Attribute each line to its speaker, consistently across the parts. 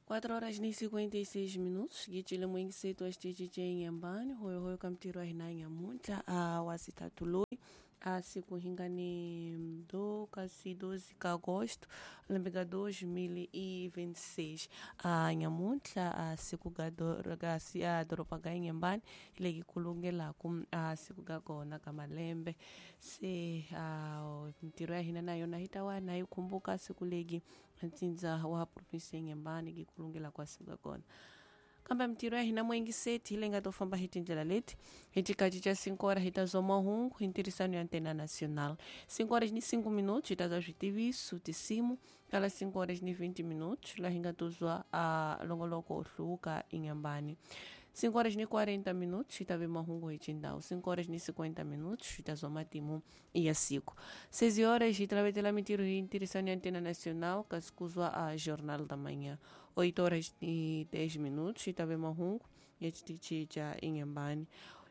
Speaker 1: 4 horas ni 56 minutos gicile mwingisetu wa xitichi ce Inhambane hoyohoyo ka mintirho ya hina nyamuntlha a wa sitatu loyi a siku hi nga ni do kasi 12 ka agosto lembe ka 2026. A nyamuntlha a siku ga ga si a doroba ga Inhambane hi le ki kulungelaku a siku ga kona ka malembe se a mintirho ya hina na yona hi ta wa na yi khumbuka siku legi ntsindza wa provinsi ya Inhambane ki kulungela kwa siku ga kona. Kambe mintirho ya hina muengiseti hi leyi nga to famba hi tindlela leti: hi xikati xa 5 horas hi ta zwa mahungu hi ntirhisano ya Antena Nacional, 5 horas ni 5 minutos hi ta zwa switiviso tinsimu, kala 5 horas ni 20 minutos laha hi nga to zwa a longoloko wo hluvuka Inhambane, 5 horas ni 40 minutos hi ta ve mahungu hi xindhawu, 5 horas ni 50 minutos hi ta zwa matimu ya siku, 6 horas hi tlavetela mintirho hi ntirhisano ya Antena Nacional kasi ku zwa a Jornal da Manhã, 8 horas ni 10 minutos hi ta ve mahungu ya xitichi xa Inhambane,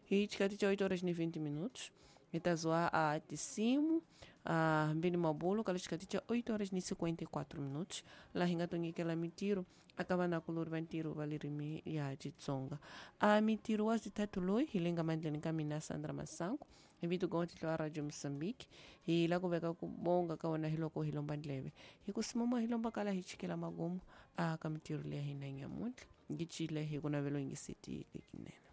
Speaker 1: hi xikati xa 8 horas ni 20 minutos hi ta zwa a tinsimu a hambi ni mabulo, kala xikati xa 8 horas ni 54 minutos laha hi nga to nyikela mintirho aka vanakulori va ntirho va ririmi ya Xitsonga. A mintirho wa sithathu loyi hi le nga mandleni ka mina Sandra Masangu hi vito ka tihlo wa Radio Mozambique, hi la ku veka ku bonga ka wona hi loko hi lomba ndleve hi ku simoma hi lomba kala hi chikela magumu a ka mintirho leya hina nyamuntlha ngicile hi ku navelo yingiseti lekinene.